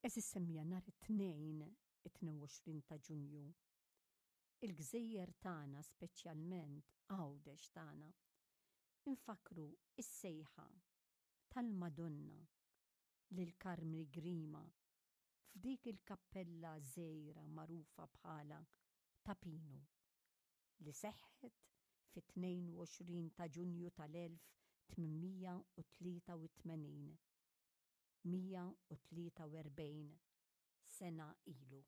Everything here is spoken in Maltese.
Għeżież semmiegħa nhar it-Tnejn it-22 ta' Ġunju, il-gżejjer tagħna speċjalment Għawdex tagħna, infakkru s-sejħa tal-Madonna lil Karmni Grima f'dik il-kappella żgħira magħrufa bħala Ta' Pinu, li seħħet fit-22 ta' Ġunju tal-1883, 143 sena ilu.